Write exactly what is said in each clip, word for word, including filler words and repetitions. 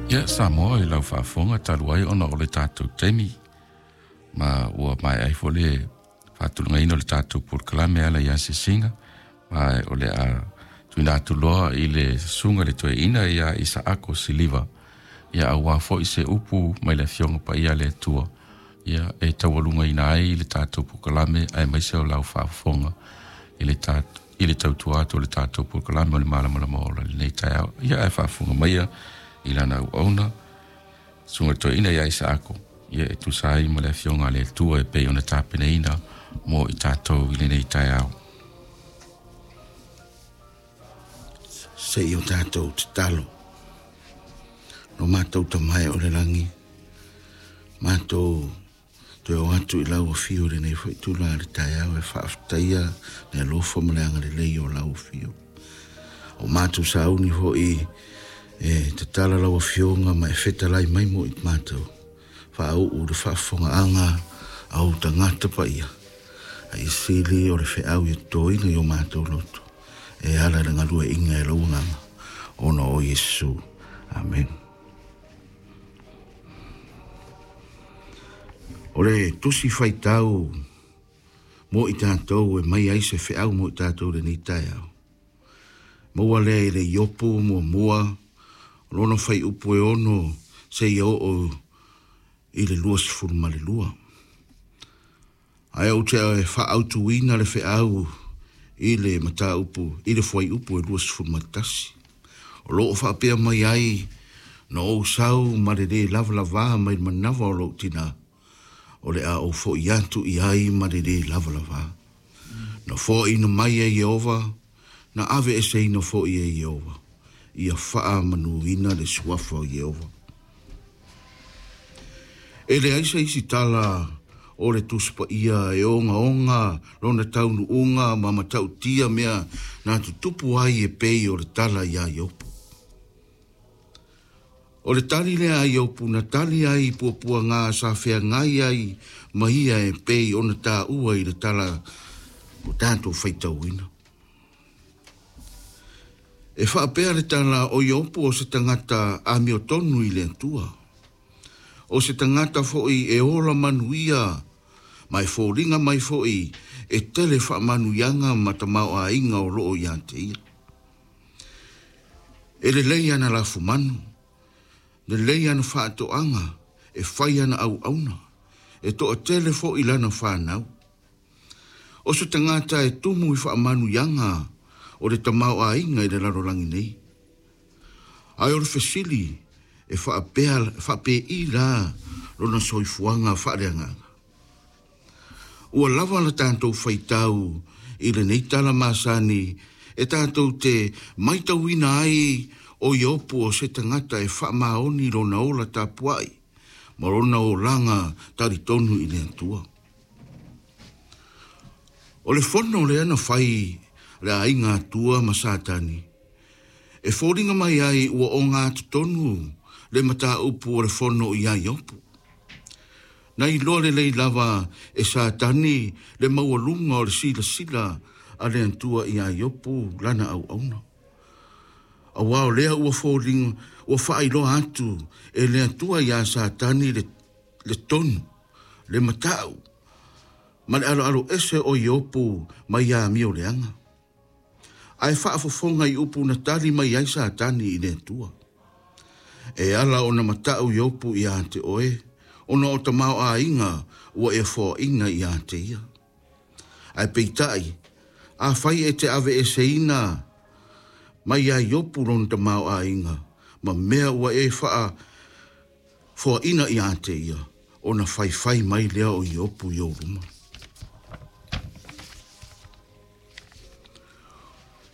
Ia Samoa i lau faafofoga talu ai ona o le tatou taimi ma ua maea ai foi le faatulagaina o le tatou polokalame e ala i asiasiga ma o le a tuuina atu loa i le susuga i le toeaina ia Isaako Siliva ia auā foi se upu mai le Afioga Paia a le Atua ia e taualugaina ai le tatou polokalame aemaise o lau faafofoga i le tatou i le tautua atu o le tatou polokalame o le Malamalama Ola i lenei taeao. Ia ae faafofoga maia i lana auauna susuga i le toeaina ia Isaako ia e tusa ai ma le Afioga a le Atua e pei ona tapenaina mo i tatou i lenei taeao. Se i o tatou tatalo. Lo matou tamae o le lagi, matou toe o atu i lau afio i lenei foi tula le taeao e faafetaia le alofa ma le agalelei o lau afio. O matou sauni foi e tatala lau afioga ma e fetalai mai mo i matou. Faauu le faafofogaaga a ou tagata paia. Ai sili o le feau i totoina i o matou loto. E ala i le galueaiina e lau agaga ona o Iesu. Amen. O le tusi faitau mo i tatou e mai ai se feau mo i tatou lenei taeao. Maua lea i le Iopu muamua, o lona fuaiupu e ono seia oo i le luasefulu ma le lua. Ae ou te faaautuina le feau i le mataupu, i le fuaiupu e luasefulu ma le tasi. O loo faapea mai ai, na ou sau ma le lē lavalavā mai le manava o lou tinā, o le a ou fo'i atu i ai ma le lē lavalavā. Na foaina mai e Ieova, na aveeseina foi e Ieova, ia faamanuina le suafa o Ieova. E leai se isi tala o le Tusi Paia e ogaoga lona taunuuga ma matautia mea na tutupu ai e pei o le tala iā Iopu. O le tali lea a Iopu na tali ai i puapuaga sa feagai ai ma ia e pei ona taua i le tala o tatou faitauina. E faapea le tala o Iopu o se tagata amiotonu i le Atua. O se tagata foi e ola manuia ma e foliga mai foi e tele faamanuiaga ma tamaoaiga o loo ia te ia. E lelei ana lafumanu, lelei ana faatoaga, e fai ana auauna, e toatele foi lana fanau. O se tagata e tumu i faamanuiaga o le tamaoaiga i le lalolagi nei. Ae o le fesili e faapea, faapei la lona soifuaga faaleagaga. Ua lava la tatou faitau i lenei tala masani e tatou te maitauina ai o Iopu o se tagata e faamaoni lona ola tapuai ma lona olaga talitonu i le Atua. O le fono lea na fai le aiga Atua ma Satani, e foliga mai ai ua ogatotonu le mataupu o le fono iā Iopu. Na iloa lelei lava e Satani le maualuga o le silasila a le Atua iā Iopu lana auauna. Auā o lea ua foliga, ua faailoa atu e le Atua iā Satani le, le tonu, le matau, ma le aloalo ese o Iopu mai amio leaga. Ae faafofoga i upu na tali mai ai Satani i le Atua. E ala ona matau Iopu ia te oe, ona o tamaoaiga ua e foaina ia te ia. Ae peitai, afai e te aveeseina mai ia Iopu lona tamaoaiga, ma mea ua e faafoaina ia te ia, ona faifai mai lea o Iopu i ou luma.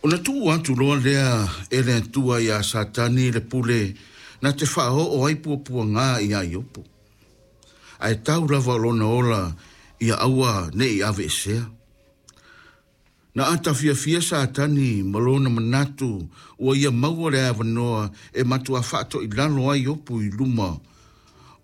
Ona tuu atu loa lea e le Atua iā Satani le pule na te faaoo ai puapuaga iā Iopu. Ae tau lava o lona ola ia aua nei aveesea. Na atafiafia Satani ma lona manatu ua ia maua le avanoa e matuā faatoilalo ai Iopu i luma